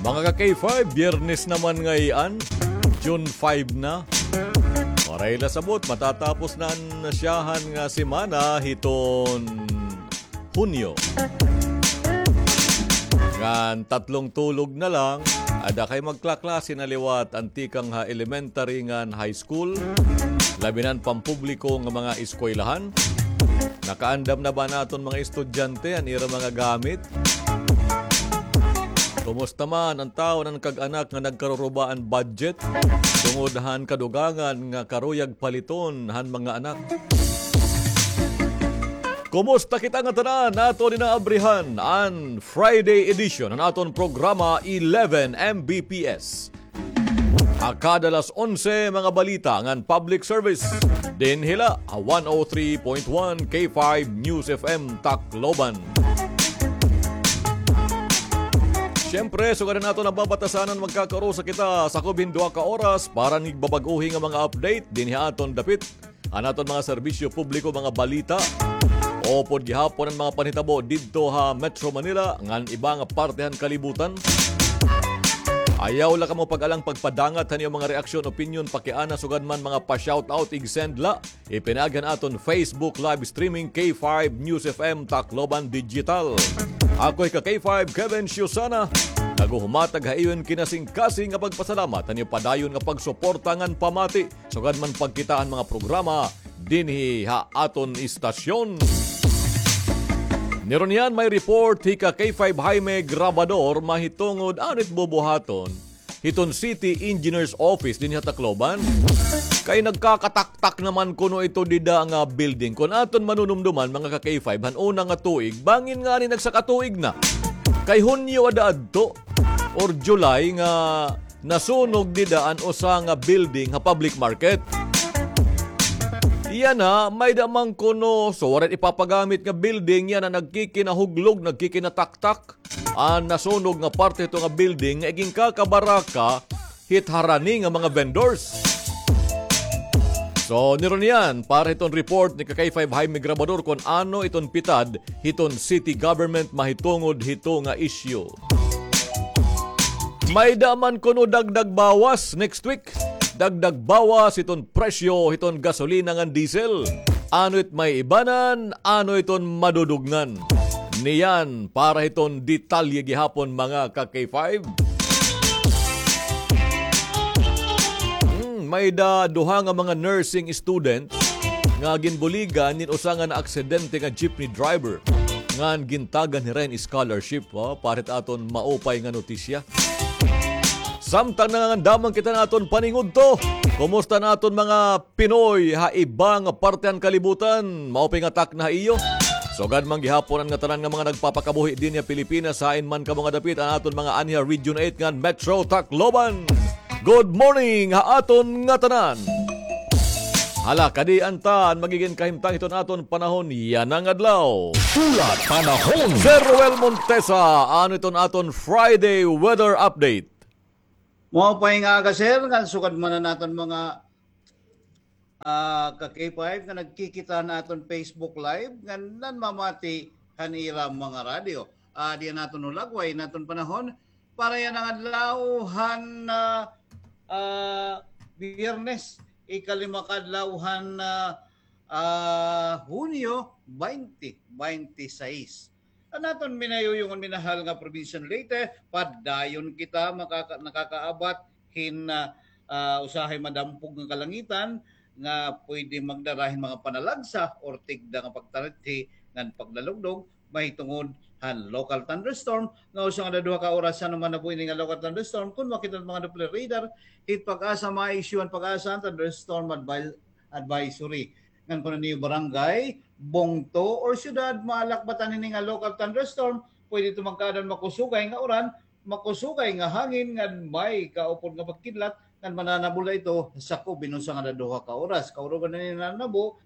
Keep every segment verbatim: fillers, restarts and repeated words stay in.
Mga ka-K five, Biyernes naman ngay-an, June five na. Waray la sabot, matatapos na an nasyahan nga semana hiton Hunyo. Ngan tatlong tulog na lang, ada kay magklaklase na liwat an tikang ha elementary ngan high school, labi na an pampubliko nga mga eskwelahan. Nakaandam na ba an aton mga estudyante an ira mga gamit? Kumusta man an tawo nan kag-anak nga nagkaruruba an budget tungod han kadugangan nga karuyag paliton han mga anak? Kumusta kita nga tanan? Aton inaabrihan an Friday edition han aton programa eleven M B P S. Ha kada alas onse, mga balita ngan public service. Dinhi la ha one oh three point one K five News F M Tacloban. Siyempre, sugad han aton nababatasan, magkakaurusa kita sakob hin duha ka oras para han igbabag-ohi nga mga update dinhi ha aton dapit, an aton mga serbisyo publiko, mga balita, upod gihapon an mga panhitabo didto ha Metro Manila ngan iba nga parte han kalibutan. Ayaw la kamo pag-alang pagpadangat han iyo mga reaksyon, opinyon, pakiana, sugad man mga pa-shoutout, ig-send la. Ipinaagi han aton Facebook live streaming, K five News F M Tacloban Digital. Ako hi ka K five, Kevin Siusana, naghuhumatag ha iyo hin kinasingkasing nga pagpasalamat han iyo padayon nga pagsuporta ngan pamati sugad man pagkita han mga programa dinhi ha aton istasyon. Nirunyan may report hi ka K five Jaime Grabador mahitungod ano it bubuhaton hiton City Engineer's Office dinhi ha Tacloban. Kay nagkakataktak naman kuno ito dida nga building. Kon aton manunumduman, mga ka K five, han una nga tuig, bangin ngani nagsakatuig na. Kay Hunyo ada adto or July nga nasunog dida an usa nga building ha public market. Yana, may-ada man kuno, so waray ipapagamit nga building, yana nagkikinahuglog, nagkikinataktak an nasunog nga parte hito nga building nga iginkakabaraka hit harani nga mga vendors. So, nirunyan, para hiton report ni ka K five Jaime Grabador kon ano iton pitad hiton city government mahitungod hito nga issue. May-ada man kuno dagdag bawas next week. Dagdag bawas hiton presyo hiton gasolina ngan diesel. Ano it may ibanan, ano iton madudugnan. Niyan para hiton detalye gihapon, mga ka K five. Hmm, may-ada duha nga mga nursing student nga ginbuligan hin usa nga naaksidente nga jeepney driver ngan gintagan hira hin scholarship, oh, para hit aton maupay nga notisya. Samtang nangangandaman kita han aton paningudto, kumusta an aton mga Pinoy ha iba nga parte han kalibutan? Maupay nga takna ha iyo. Sugad man gihapon an ngatanan nga mga nagpapakabuhi dinhi ha Pilipinas, hain man kamo nga dapit, an aton mga anhi ha Region eight ngan Metro Tacloban. Good morning ha aton ngatanan. Hala, kadi an tan magigin kahimtang hiton aton panahon yana nga adlaw. Pula panahon. Sir Roel Montesa, ano iton aton Friday weather update? Maupay nga aga, sir, ngan sugad man an aton mga, ah, ka K five nga nagkikita han aton Facebook Live ngan nanmamati han ira mga radyo. Ah, di naton hulagway an aton panahon para yana nga adlaw han, ah, ah, Biyernes, ikalima ka adlaw han, ah, ah, Hunyo, twenty twenty-six. An aton minayuyongon, minahal nga probinsya han Leyte, padayon kita makaka-, nakakaabat hin, ah, ah, usahay madampog nga kalangitan nga pwede magdara hin mga panalagsa or tigda nga pagtarithi ngan paglalugdog mahitungod han local thunderstorm nga usa nga duha ka oras han manabo ini nga local thunderstorm. Kon makita han mga Doppler radar hit PAGASA, ma-issue han PAGASA an thunderstorm advi-, advisory. Ngan kon an iyo barangay, bungto, or syudad maalakbatan hini nga local thunderstorm, pwede ito magkaada hin makusogay nga uran, makusogay nga hangin, ngan may kaupod nga pagkidlat, ngan mananabo la ito sakob hin usa ngan duha ka oras. Kaurugan hini nananabo,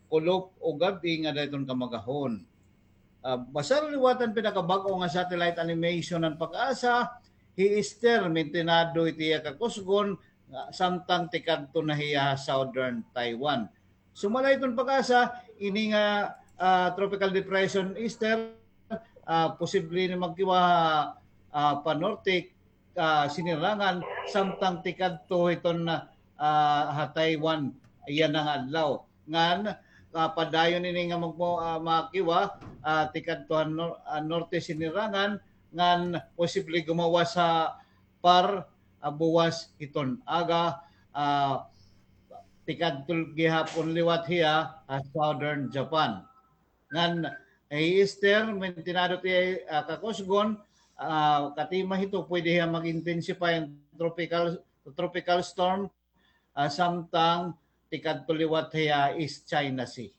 kulop o gab-i ngada hiton kamagahon. Ah, basta liwat an pinakabag-o nga satellite animation han PAGASA, hi Ester, mintinado it iya kakusgon, nga samtang tikadto na hiya ha southern Taiwan. Sumala hiton PAGASA, ini nga, ah, tropical depression, Ester, ah, posible ini magkiwa, ah, panorte ah, Sinirangan, samtang tikadto hiton, ah, ha Taiwan yana nga adlaw. Ngan, ah, padayon ini nga magmo-, ah, makiwa, ah, tikadto ha nor-, ah, Norte Sinirangan, ngan posible gumawas ha par, ah, buwas hiton aga, ah, tikadto gihapon liwat hiya, ah, Southern Japan. Ngan, eh, Esther, mentinado ti, ah, kakusgon, ah, katima hito, pwede hiya mag-intensify an tropical, tropical storm, ah, samtang tikadto liwat hiya East China Sea.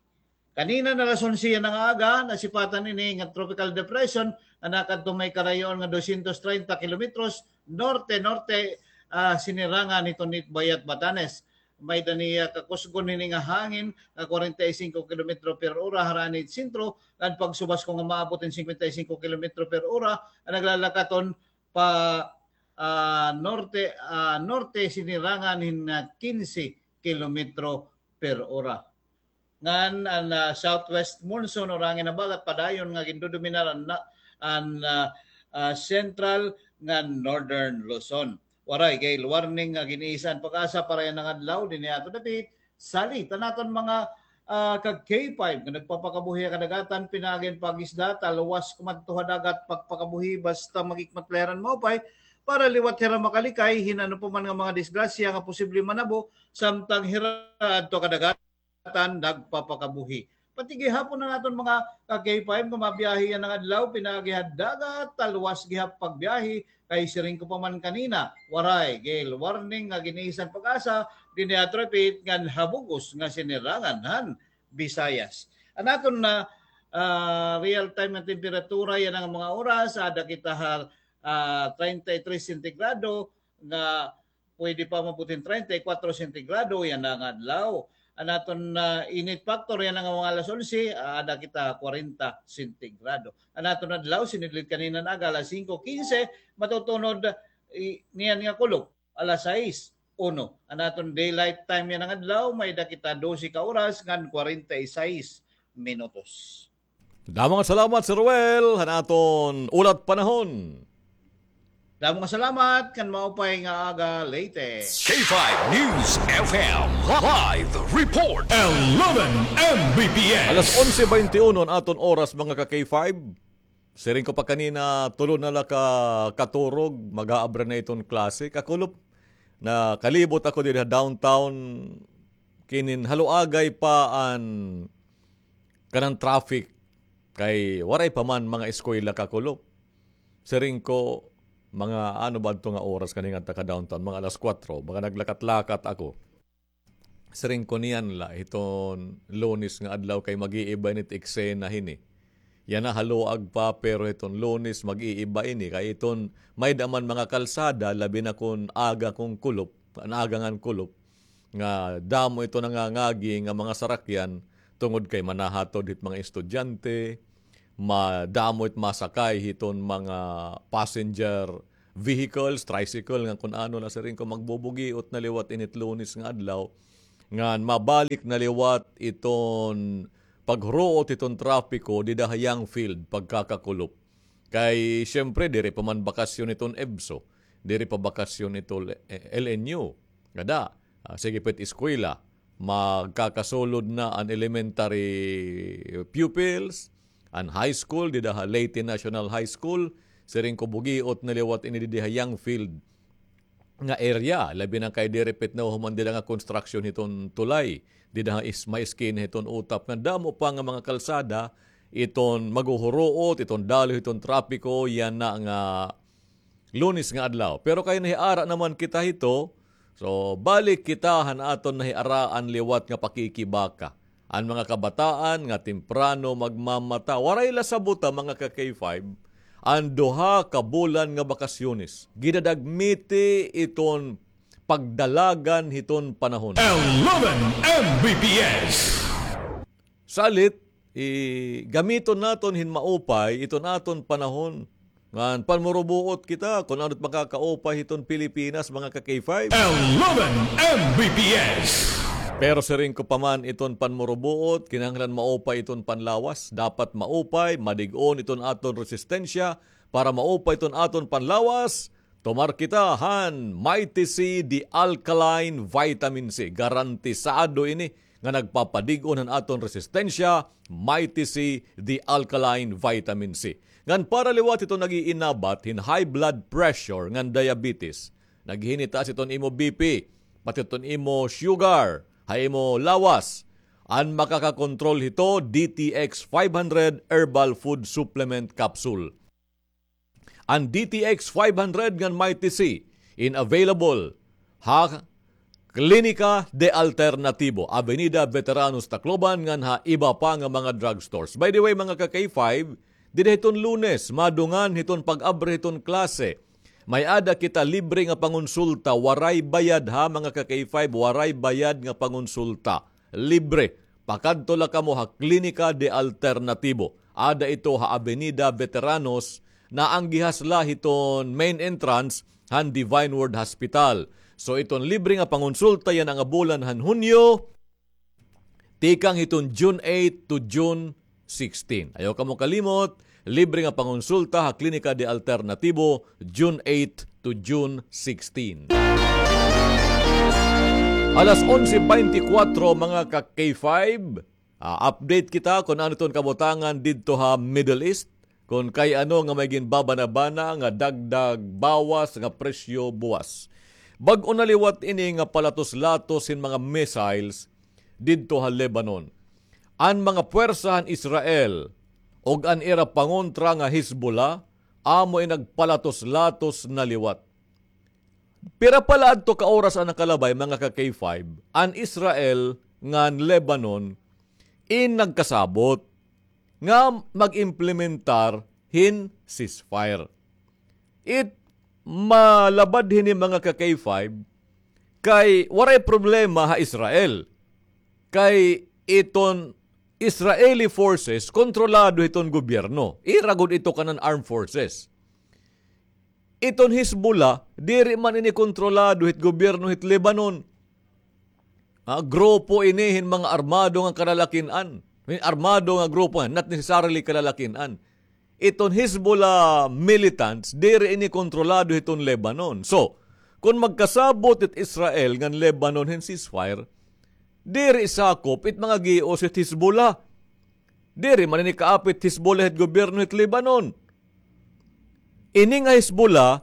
Kanina na alas onse yana nga aga, nasipatan ini nga tropical depression nga nakadto may karayoon nga dosyentos treinta kilometros norte-norte, ah, Sinirangan hiton Itbayat, Batanes. May-ada niya kakusgon hini nga hangin nga kwarenta y singko kilometro per ora harani it sentro, ngan pagsubas ko nga maabot hin singkwenta y singko kilometro per ora, an naglalakaton pa, ah, norte, ah, norte Sinirangan hin, ah, kinse kilometro per ora. Ngan an, ah, southwest monsoon or hangin habagat padayon nga gindodominar an, an, ah, ah, central ngan northern Luzon. Waray gale warning nga gin-iisa an PAGASA para yana nga adlaw dinhi ha aton dapit. Salit an aton mga, ah, kag K five nga nagpapakabuhi ha kadagatan, pinaagi hin pag-isda, talwas kumadto ha dagat, pagpakabuhi basta magikmat la hira hin maupay para liwat hira makalikay hin ano pa man nga mga disgrasya nga posible manabo samtang hira adto ha kadagatan nagpapakabuhi. Pati gihapon an aton mga ka K five nga mabiyahe yana nga adlaw, pinaagi ha dagat, talwas gihap pagbiyahe, kay siring ko pa man kanina, waray gale warning nga gin-iisa an PAGASA dinhi ha aton dapit ngan ha bug-os nga Sinirangan han Visayas. An aton na, ah, real time nga temperatura yana nga mga oras, ada kita ha, ah, treinta y tres sentigrado nga pwede pa maabot hin treinta y cuatro sentigrado yana nga adlaw. An aton, ah, init factor yana nga mga alas onse, ah, ada kita kwarenta sentigrado. An aton adlaw, sinidlit kanina nga aga, alas singko kinse, matutunod, i-, niyan nga kulop, alas sais, uno. An aton daylight time yana nga adlaw, may-ada kita dose ka oras ngan kwarenta y sais minutos. Damo nga salamat, Sir Ruel, han aton ulat panahon. Damo nga salamat, ngan maupay nga aga, Leyte. K five News F M live report. Eleven M B P S. Alas onse baynte uno an aton oras, mga ka K five. Siring ko pa kanina, tulo na la ka katurog, mag-aabra na iton klase. Kakulop, nakalibot ako didi ha downtown, kinin haluagay pa an kanan traffic, kay waray pa man mga eskwela, kakulop. Siring ko, mga ano ba adto nga oras kaningadto ka downtown, mga alas kuwatro, mga naglakat-lakat ako. Siring ko niyan la, hiton Lunes nga adlaw kay mag-iiba ini it eksena hini. Yana haluag pa, pero hiton Lunes mag-iiba ini. Kay hiton may-ada man mga kalsada, labi na kon aga kon kulop, an aga ngan kulop, nga damo ito nangangagi nga mga sarakyan tungod kay manahatod hit mga estudyante, madamo it masakay hiton mga passenger vehicles, tricycle, ngan kun ano na, siring ko magbubugiot na liwat ini it Lunes nga adlaw, ngan mabalik na liwat iton paghuruot hiton trapiko dida ha Young Field pagkakakulop. Kay, siyempre, diri pa man bakasyon iton EVSO, diri pa bakasyon iton L N U. Ngada, ah, sige pa it eskwela, magkakasulod na an elementary pupils, an high school, dida ha Leyte National High School, siring ko bugiot na liwat ini didi ha Young Field nga area, labi na kay diri pa it nahuhuman dida nga construction hiton tulay, dida ha is-, may eskina hiton utap nga damo pa nga mga kalsada, iton maghuhuruot, iton daloy hiton trapiko, yana nga Lunes nga adlaw. Pero kay nahiara naman kita hito, so balik kita han aton nahiaraan liwat nga pakikibaka. An mga kabataan nga temprano magmamata. Waray la sabota, mga ka K five, an duha ka bulan nga bakasyones. Gidadagmiti iton pagdalagan hiton panahon. Eleven M B P S. Salit, i-, gamiton naton hin maupay iton aton panahon. Ngan panmurubuot kita kun ano it makakaupay hiton Pilipinas, mga ka K five. Eleven M B P S. Pero siring ko pa man, iton panmurubuot, kinahanglan maupay iton panlawas. Dapat maupay, madig-on iton aton resistensya para maupay iton aton panlawas. Tumar kita han Mighty C, the alkaline vitamin C. Garantisado ini nga nagpapadig-on han aton resistensya, Mighty C, the alkaline vitamin C. Ngan para liwat hiton nag-iinabat hin high blood pressure ngan diabetes. Naghinitaas hiton imo B P, pati hiton imo sugar, ha imo lawas. An makakakontrol hito, D T X five hundred Herbal Food Supplement Capsule. An D T X five hundred ngan Mighty C in available ha Klinika de Alternatibo, Avenida Veteranos, Tacloban, ngan ha iba pa nga mga drugstores. By the way, mga ka-K five, dida hiton Lunes, madungan hiton pag-abri hiton klase. May-ada kita libre nga pangonsulta, waray bayad ha, mga ka-K five, waray bayad nga pangonsulta. Libre. Pakadto la kamo ha Klinika de Alternatibo. Ada ito ha Avenida Veteranos, naanggihas la hiton main entrance han Divine Word Hospital. So, iton libre nga pangonsulta yana nga bulan han Hunyo, tikang hiton June eight to June sixteen. Ayaw kamo kalimot, libre nga pangonsulta ha Klinika de Alternatibo, June eight to June sixteen. Alas onse beintikwatro, mga ka-K five. Ah, update kita kon ano iton kabutangan didto ha Middle East, kon kay ano nga may ginbabana-bana nga dagdag bawas nga presyo buwas. Bag-o na liwat ini nga palatos-latos hin mga missiles didto ha Lebanon. An mga puwersa han Israel ug an ira pangontra nga Hezbollah amo in nagpalatos-latos na liwat. Pira pa la adto ka oras an nakalabay, mga ka-K five, an Israel ngan Lebanon in nagkasabot nga mag-implementar hin ceasefire. It malabad hini, mga ka-K five, kay waray problema ha Israel. Kay iton Israeli forces kontrolado hiton gobyerno. Ira gud ito kanan armed forces. Iton Hezbollah, diri man ini kontrolado hit gobyerno hit Lebanon. Ah, grupo ini hin mga armado nga kalalakin-an. Hin armado nga grupo, not necessarily kalalakin-an. Iton Hezbollah militants, diri ini kontrolado hiton Lebanon. So, kon magkasabot it Israel ngan Lebanon hin ceasefire, diri sakop it mga gios hit Hezbollah. Diri man ini kaapit Hezbollah hit gobyerno hit Lebanon. Ini nga Hezbollah,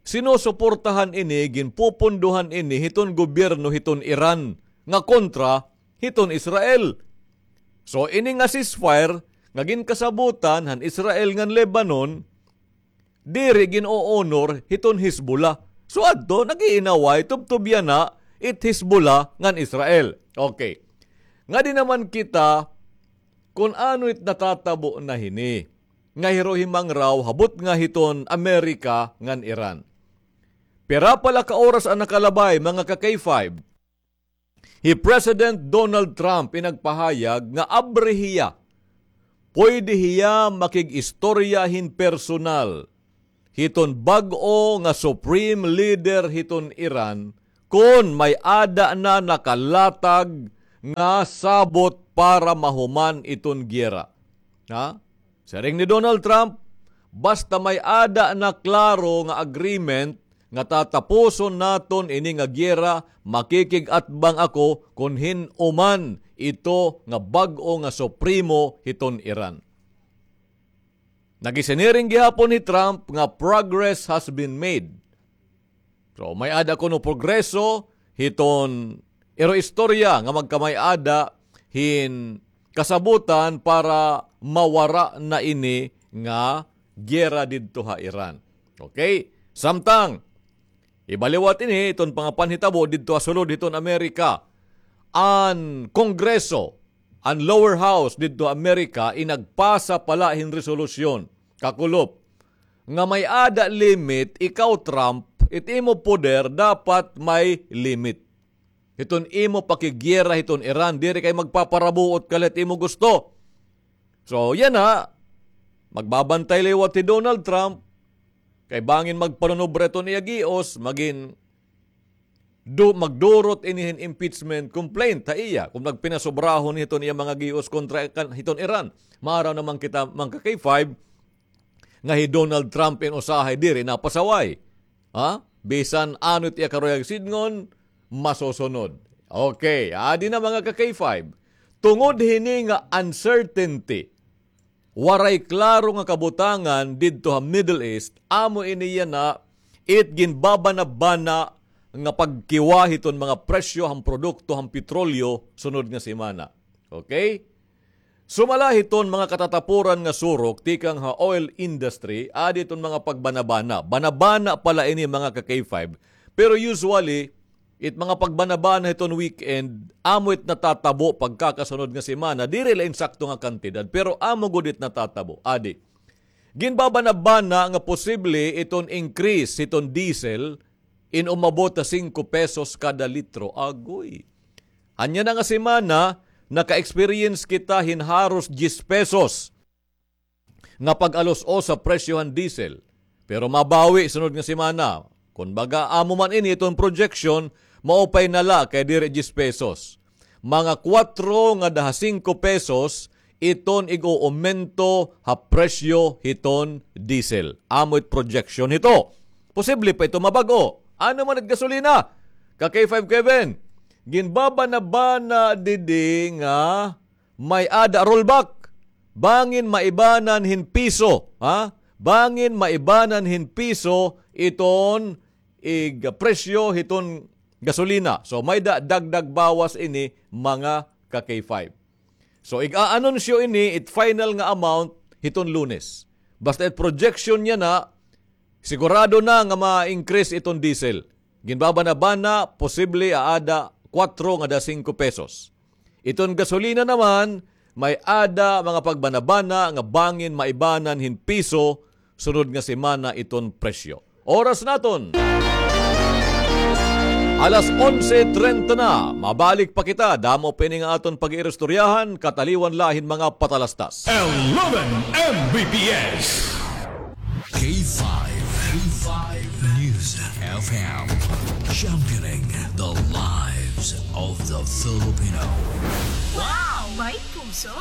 sinusuportahan ini, ginpupundohan ini hiton gobyerno hiton Iran nga kontra hiton Israel. So, ini nga ceasefire nga ginkasabutan han Israel ngan Lebanon, diri gin-o-honor hiton Hezbollah. So, adto, nag-iinaway, tubtob yana it Hezbollah ngan Israel. Okay. Ngadi naman kita kon ano it natatabo na hini nga hiruhimangraw ha butnga hiton Amerika ngan Iran. Pira pa la ka oras an nakalabay, mga ka-K five. Hi President Donald Trump in nagpahayag nga abri hiya, pwede hiya makig-istorya hin personal hiton bag-o nga supreme leader hiton Iran kon may-ada na nakalatag nga sabot para mahuman iton giyera. Ha? Siring ni Donald Trump, basta may-ada na klaro nga agreement nga tatapuson naton ini nga giyera, makikig-atbang ako kon hin-o man ito nga bag-o nga supremo hiton Iran. Nagisiniring gihapon ni Trump nga progress has been made. So, may-ada kuno progreso hiton iro istorya nga magkamay-ada hin kasabutan para mawara na ini nga giyera didto ha Iran. Okay? Samtang, iba liwat ini, iton pangapanhitabo didto ha sulod hiton Amerika, an Kongreso, an lower house didto Amerika, in nagpasa pa la hin resolusyon, kakulop, nga may-ada limit, ikaw Trump, it imo poder dapat may limit. Hiton imo pakigiyera hiton Iran, diri kay magpaparabuot ka la hit imo gusto. So, yana, magbabantay liwat hi Donald Trump, kay bangin magpanunobra iton iya gios, magin du-, magdurot ini hin impeachment complaint ha iya, kon nagpinasobrahon hiton iya mga gios kontra kan-, hiton Iran. Maaraw naman kita, mga ka-K five, nga hi Donald Trump in usahay diri na pasaway. Ha? Bisan ano it iya karuyag sidngon, masusunod. Okay, adi na, mga ka-K five. Tungod hini nga uncertainty, waray klaro nga kabutangan didto ha Middle East, amo ini yana it ginbabanabana nga pagkiwa hiton mga presyo han produkto han petrolyo sunod nga semana. Okay? Sumala hiton mga katatapuran nga surok tikang ha oil industry, adi iton mga pagbanabana. Banabana pala ini, mga ka-K five. Pero usually, it mga pagbanabana hiton weekend, amo it natatabo pagkakasunod nga semana. Diri la insakto nga kantidad, pero amo gud it natatabo. Adi, ginbabanabana nga posible iton increase hiton diesel in umabot ha singko pesos kada litro. Agoy. Ania na nga semana, naka-experience kita hin haros diyes pesos nga pag-alos-os sa presyo han diesel. Pero mabawi sunod nga semana. Kon baga amo man ini iton projection, maupay na la kay diri diyes pesos. Mga kwatro ngada ha singko pesos iton ig-uumento ha presyo hiton diesel. Amo it projection hito. Posible pa ito mabag-o. Ano man it gasolina? Ka-K five Kevin, ginbabanabana didi nga may-ada rollback. Bangin maibanan hin piso, ha? Bangin maibanan hin piso iton ig-, presyo hiton gasolina. So, may-ada dagdag bawas ini, mga ka-K five. So, ig-aanunsyo ini, it final nga amount hiton Lunes. Basta it projection niya na, sigurado na nga ma-increase iton diesel. Ginbabanabana, posible aada kwatro ngada singko pesos. Iton gasolina naman, may-ada mga pagbanabana nga bangin maibanan hin piso sunod nga semana iton presyo. Oras naton, alas onse trenta na. Mabalik pa kita. Damo pa ini nga aton pag-iiristoryahan, kataliwan la hin mga patalastas. Eleven M B P S. K five, K five News F M, championing the lives of the Filipino. Wow! May puso!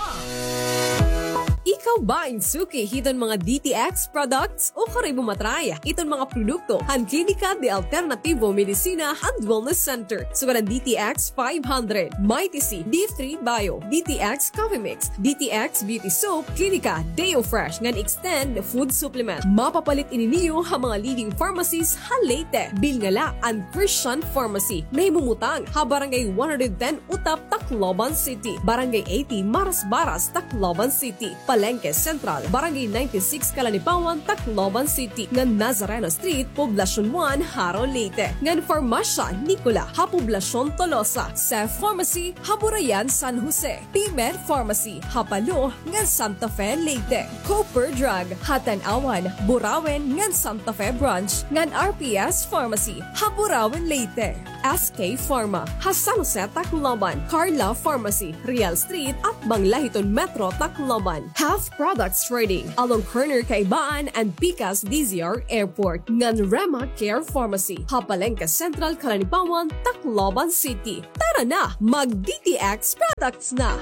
Ikaw ba in suki hiton mga D T X products? O kari mo matry iton mga produkto han Klinika de Alternativo Medicina and Wellness Center, sugad han D T X five hundred, Mighty C, D three Bio, D T X Coffee Mix, D T X Beauty Soap, Klinika Deo Fresh ngan Extend Food Supplement. Mapapalit ini niyo ha mga leading pharmacies ha Leyte. Bilnga la an Christian Pharmacy, nahimumutang ha Barangay one hundred ten Utap, Tacloban City, Barangay eighty Marasbaras, Tacloban City, Palengke Central, Barangay ninety-six Calanipawan, Tacloban City, ngan Nazareno Street, Poblacion one, Jaro, Leyte, ngan Farmasya Nicola ha Poblacion Tolosa, Seth Pharmacy ha Burayan, San Jose, P-Med Pharmacy ha Palo ngan Santa Fe, Leyte, Cooper Drug ha Tanauan, Burauen ngan Santa Fe Branch, ngan R P S Pharmacy ha Burauen, Leyte, S K Pharma ha San Jose, Tacloban, Carla Pharmacy, Real Street, atbang la hiton Metro Tacloban, Health Products Trading along corner Kaibaan and Pikas D Z R Airport, ngan Rema Care Pharmacy ha Palengke Central, Calanipawan, Tacloban City. Tara na, mag-D T X products na!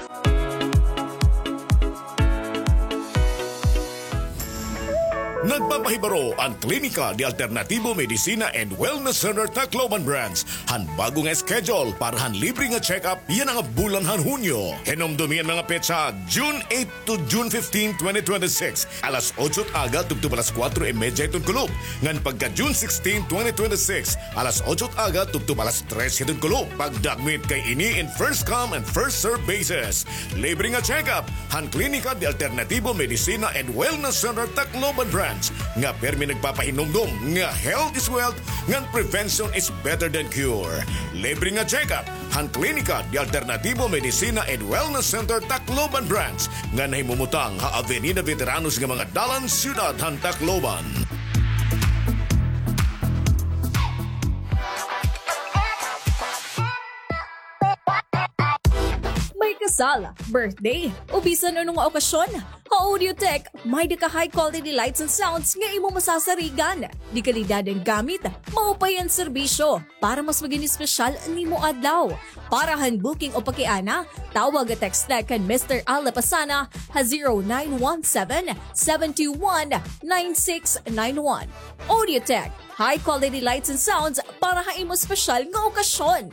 Nagpapahibaro an Klinika de Alternativo Medicina and Wellness Center Tacloban Branch han bag-o nga schedule para han libre nga check-up yana nga bulan han Hunyo. Hinumdomi an mga petsa, June eight to June fifteen, twenty twenty-six, alas otso it aga tubtob alas kuwatro y medya hiton kulop, ngan pagka June sixteen, twenty twenty-six, alas otso it aga tubtob alas tres hiton kulop. Pagdakmit kay ini in first come and first serve basis. Libre nga check-up han Klinika de Alternativo Medicina and Wellness Center Tacloban Branch, nga pirmi nagpapahinumdom nga health is wealth ngan prevention is better than cure. Libre nga check-up han Klinika de Alternativo Medicina and Wellness Center Tacloban Branch, nga nahimumutang ha Avenida Veteranos nga mga dalan, siyudad han Tacloban. May kasal, birthday, o bisan ano nga okasyon, ha Audiotech, may-ada ka high quality lights and sounds nga imo masasarigan. De kalidad an gamit, maupay an serbisyo. Para mas magin espesyal an imo adlaw. Para han booking o pakiana, tawag o text la kan Mister Al Lapasana ha zero nine one seven, seven two one, nine six nine one. Audiotech, high quality lights and sounds para ha imo espesyal nga okasyon.